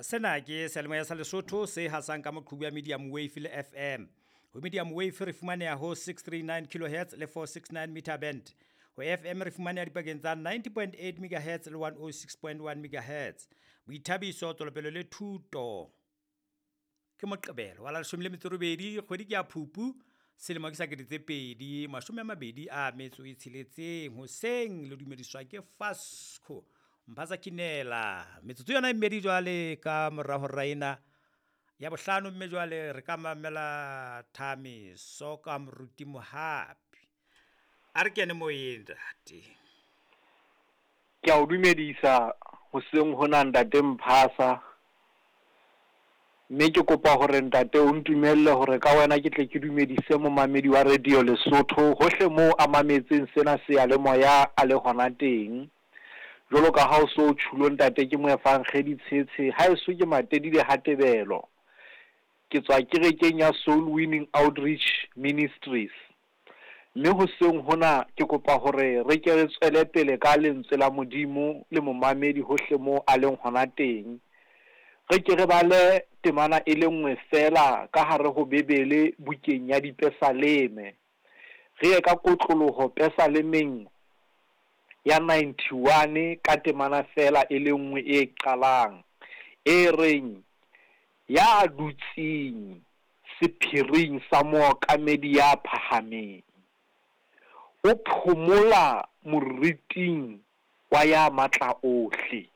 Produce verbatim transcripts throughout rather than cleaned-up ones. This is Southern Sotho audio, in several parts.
Sena ke seyalemoya sa Lesotho se hasang ka moqhubu ya medium wave le F M. Ho medium wave re fumaneha ho six three nine kilohertz le four six nine meter band. Ho F M re fumaneha dipakeng tsa ninety point eight megahertz le one oh six point one megahertz. Boithabiso, tswelopele le thuto. Ke Moqebelo wa la leshome le metso e robedi, kgwedi ke ya Phupu, selemo ke sa kete tse pedi mashome a mabedi a metso e tsheletseng. Hoseng le dumediswa ke Fasco Mphatsa Kinela. Metsotso yona e mmedi jwale ka mora hora ena ya bohlano, mme jwale re ka mamela Thamiso ka Moruti Mohapi. A re kene moyeng, ntate. Ke a o dumedisa hoseng hona, ntate Mphasa. Mme ke kopa hore ntate o ntumelle hore ka wena ke tle ke dumedise momamedi wa Radio Lesotho hohle moo a mametseng sena seyalemoya a le hona teng. Jwalo ka ha o so tjhulo ntate, ke moefankgedi Tshetshe, haeso ke Matedile Hatebelo. Ke tswa kerekeng ya Soul Winning Outreach Ministries. Mme hoseng hona ke kopa hore re ke re tswele pele ka lentswe la Modimo le momamedi hohle moo a leng hona teng. Re ke re bale temana e le nngwe feela ka hare ho Bebele, bukeng ya Dipesaleme. Re ye ka kotloloho Pesalemeng ya ninety-one ka temana feela e le nngwe e qalang e reng, ya dutseng sephiring sa mookamedi ya phahameng o phomola moriting wa ya matla ohle.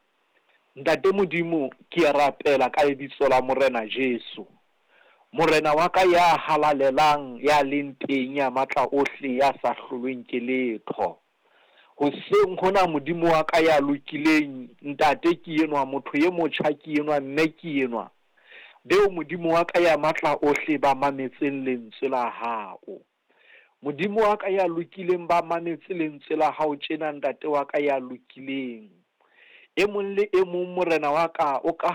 Ntate Modimo, ke a rapela ka lebitso la Morena Jesu, Morena wa ka ya halalelang, ya leng teng, ya matla ohle, ya sa hlolweng ke letho. Hoseng hona, Modimo wa ka ya lokileng, ntate ke enwa, motho e motjha ke enwa, mme ke enwa beo Modimo wa ka ya matla ohle ba mametseng lentswe la hao. Modimo wa ka ya lokileng, ba mametse lentswe la hao tjena, ntate wa ka ya lokileng. E mong le e mong, Morena wa ka, o ka